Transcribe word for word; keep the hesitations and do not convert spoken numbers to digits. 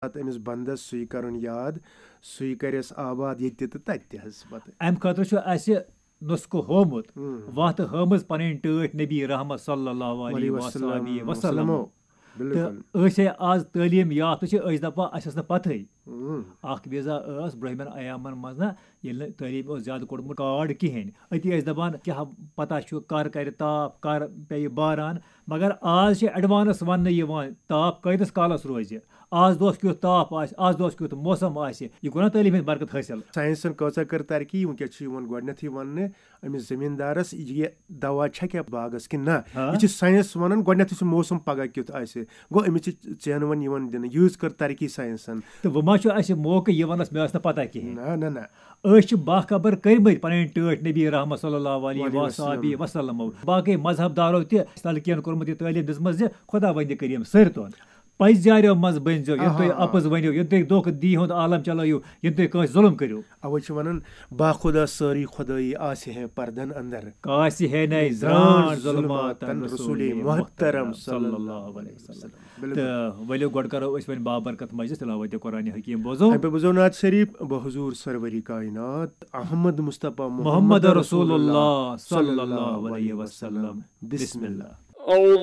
پتہٕ أمِس بندس سُے کرُن یاد، سُے کرٮ۪س آباد ییٚتہِ تہِ تہٕ تتہِ تہِ حظ پتہٕ۔ امہِ خٲطرٕ چھُ اسہِ نسخہٕ ہومُت، ہم۔ وتھ ہٲمٕژ پنٕنۍ ٹٲٹھۍ نبی رحمت صلی اللہ علیہ علیہ وصحبہ وسلم وسلم۔ بالکل۔ تہٕ أسۍ ہے آز تعلیٖم یافتہٕ چھِ، أسۍ دپان اسہِ ٲس نہٕ پتہٕے۔ ہم۔ اکھ وِزا ٲس برٛونٛہمٮ۪ن ایامن منٛز نہ، ییٚلہِ نہٕ تعلیٖم اوس زیادٕ کوٚرمُت کارڈ کِہیٖنۍ، أتی ٲسۍ دپان کیٛاہ پتہ چھُ کر کرِ تاپھ، کر پیٚیہِ باران۔ مگر آز چھِ ایڈوانس وننہٕ یِوان تاپھ کۭتِس کالس روزِ، آز دۄہس کیُتھ تاپھ آسہِ، آز دۄہس کیُتھ موسم آسہِ۔ یہِ گوٚو نا تعلیٖم ہٕنٛدِ برکت حٲصِل؟ ساینسن کۭژاہ کٔر ترقی، وٕنکیٚس چھُ یِوان گۄڈٕنیتھٕے وننہٕ أمِس زٔمیٖندارس یہِ دوا چھا کیٛاہ باغس کِنہٕ نہ۔ ہاں۔ یہِ چھُ ساینس ونان گۄڈٕنیتھٕے چھُ موسم پگاہ کیُتھ آسہِ۔ گوٚو أمِس چھِ ژینہٕ وۄنۍ یِوان دِنہٕ، یۭژ کٔر ترقی ساینسن۔ تہٕ وۄنۍ ما چھُ اسہِ موقعہٕ یہِ ونس مےٚ ٲس نہٕ پتہ کِہیٖنۍ؟ نہ نہ نہ۔ أسۍ چھِ باخبر کٔرمٕتۍ پنٕنۍ ٹٲٹھۍ نبی رحمت صلی اللہ علیہ وعلیہ وصحبہ وسلم۔ وسلم۔ باقٕے مذہب دارو تہِ تلقین کوٚرمُت یہِ تعلیٖم دِژمٕژ زِ خداوندِ کریم سٲرتون پزیارو منٛز بٔنۍزیو، یِم تُہۍ آہا۔ اپُز ؤنِو، یِم تُہۍ دھوکہٕ دی ہُنٛد عالم چلٲیِو، یِم تُہۍ کٲنٛسہِ ظلم کٔرِو۔ اوے چھِ ونان، باخدا سٲری خدٲیی آسہِ ہے پردن اندر۔ کاسہِ ہے نَے زران ظلماتن رسول محترم صلی اللہ علیہ وسلم۔ بالکل۔ تہٕ ؤلِو گۄڈٕ کرو أسۍ وۄنۍ بابرکت مجلس تلاوت قرآن حکیم بوزو۔ اَمہِ پتہٕ بوزو نعت شریف، بحضور سرور کائنات احمد مصطفیٰ محمد رسول اللہ صلی اللہ علیہ وسلم۔ بسم اللہ۔ أعوذ